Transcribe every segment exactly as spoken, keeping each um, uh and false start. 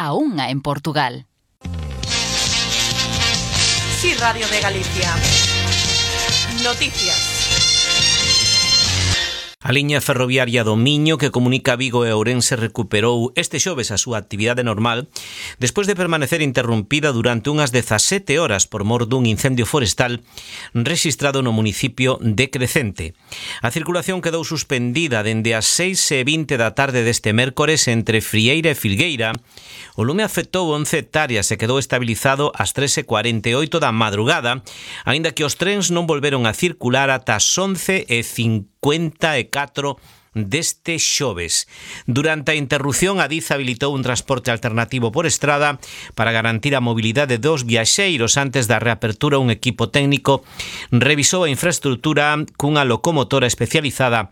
a unha en Portugal. Sí, Radio de Galicia. Noticias. A liña ferroviaria do Miño, que comunica Vigo e Ourense, recuperou este xoves a súa actividade normal despois de permanecer interrompida durante unhas dezasete horas por mor dun incendio forestal rexistrado no municipio de Crecente. A circulación quedou suspendida dende as seis e vinte da tarde deste mércores entre Frieira e Filgueira. O lume afectou once hectáreas e quedou estabilizado ás tres e cuarenta e oito da madrugada, aínda que os trens non volveron a circular ata as once e cincuenta e catro deste xoves. Durante a interrupción, a Adif habilitou un transporte alternativo por estrada para garantir a mobilidade dos viaxeiros. Antes da reapertura, un equipo técnico revisou a infraestrutura cunha locomotora especializada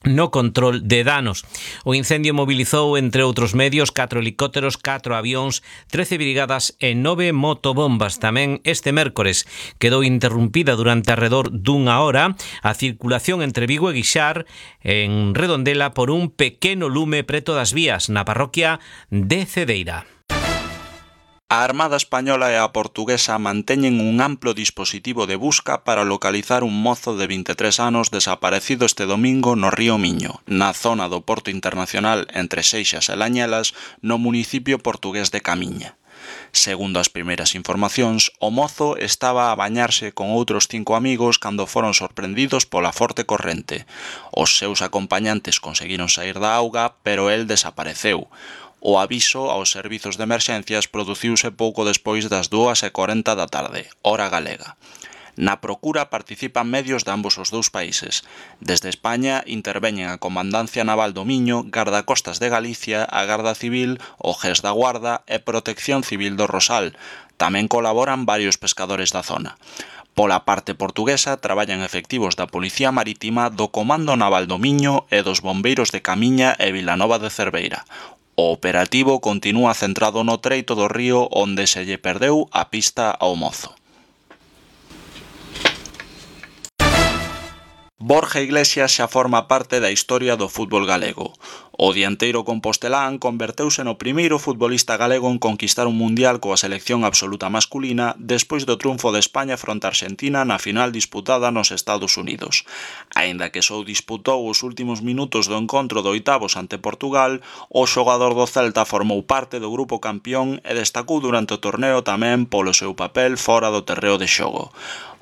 no control de danos. O incendio mobilizou, entre outros medios, catro helicópteros, catro avións, trece brigadas e nove motobombas. Tamén este mércores quedou interrumpida durante alrededor dunha hora a circulación entre Vigo e Guixar en Redondela por un pequeno lume preto das vías na parroquia de Cedeira. A Armada Española e a Portuguesa manteñen un amplo dispositivo de busca para localizar un mozo de vinte e tres anos desaparecido este domingo no río Miño, na zona do Porto Internacional entre Seixas e Lañelas, no municipio portugués de Camiña. Segundo as primeiras informacións, o mozo estaba a bañarse con outros cinco amigos cando foron sorprendidos pola forte corrente. Os seus acompañantes conseguiron saír da auga, pero el desapareceu. O aviso aos servizos de emerxencias produciuse pouco despois das dúas e cuarenta da tarde, hora galega. Na procura participan medios de ambos os dous países. Desde España interveñen a Comandancia Naval do Miño, Gardacostas de Galicia, a Garda Civil, o G E S da Guarda e Protección Civil do Rosal. Tamén colaboran varios pescadores da zona. Pola parte portuguesa traballan efectivos da Policía Marítima, do Comando Naval do Miño e dos Bombeiros de Camiña e Vilanova de Cerveira. O operativo continúa centrado no treito do río onde se lle perdeu a pista ao mozo. Borja Iglesias xa forma parte da historia do fútbol galego. O dianteiro compostelán converteuse no primeiro futbolista galego en conquistar un mundial coa selección absoluta masculina despois do triunfo de España fronte a Argentina na final disputada nos Estados Unidos. Aínda que só disputou os últimos minutos do encontro de oitavos ante Portugal, o xogador do Celta formou parte do grupo campeón e destacou durante o torneo tamén polo seu papel fora do terreo de xogo.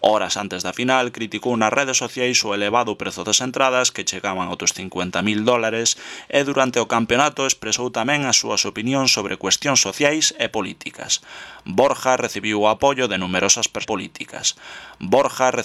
Horas antes da final, criticou nas redes sociais o elevado prezo das entradas que chegaban aos cincuenta mil dólares e durante o campeonato expresou tamén as súas opinións sobre cuestións sociais e políticas. Borja recibiu o apoio de numerosas persoas políticas. Borja